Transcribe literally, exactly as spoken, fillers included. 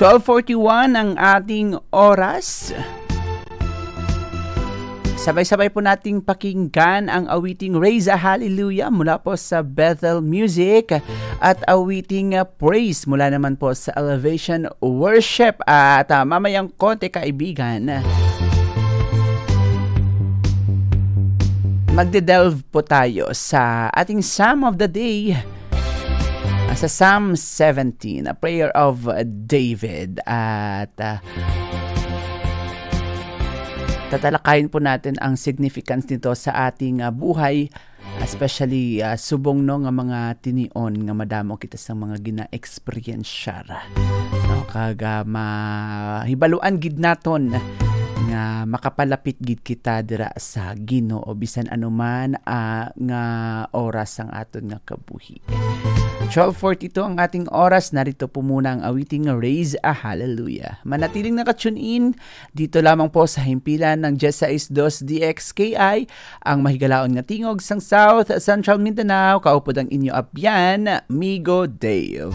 Twelve forty-one ang ating oras. Sabay-sabay po nating pakinggan ang awiting Raise a Hallelujah mula po sa Bethel Music at awiting, uh, Praise mula naman po sa Elevation Worship. At, uh, mamayang konti, kaibigan, magde-delve po tayo sa ating Psalm of the Day. Ah, sa Psalm seventeen, a prayer of David. At, ah, tatalakayin po natin ang significance nito sa ating, ah, buhay, especially, ah, subong, no, nga mga tinion nga madamo kita sa mga gina-experiencear. No, kag, ah, mahibaluan gid naton nga makapalapit gid kita dira sa Ginoo bisan anuman, ah, nga oras sang aton nga kabuhi. Twelve forty-two ang ating oras. Narito po muna ang awiting nga Raise a Hallelujah. Manatiling naka-tune in dito lamang po sa himpilan ng diyes sais dos D X K I, ang mahigalaon nga tingog sang South Central Mindanao. Kaupod ang inyo abyan, Migo Dave.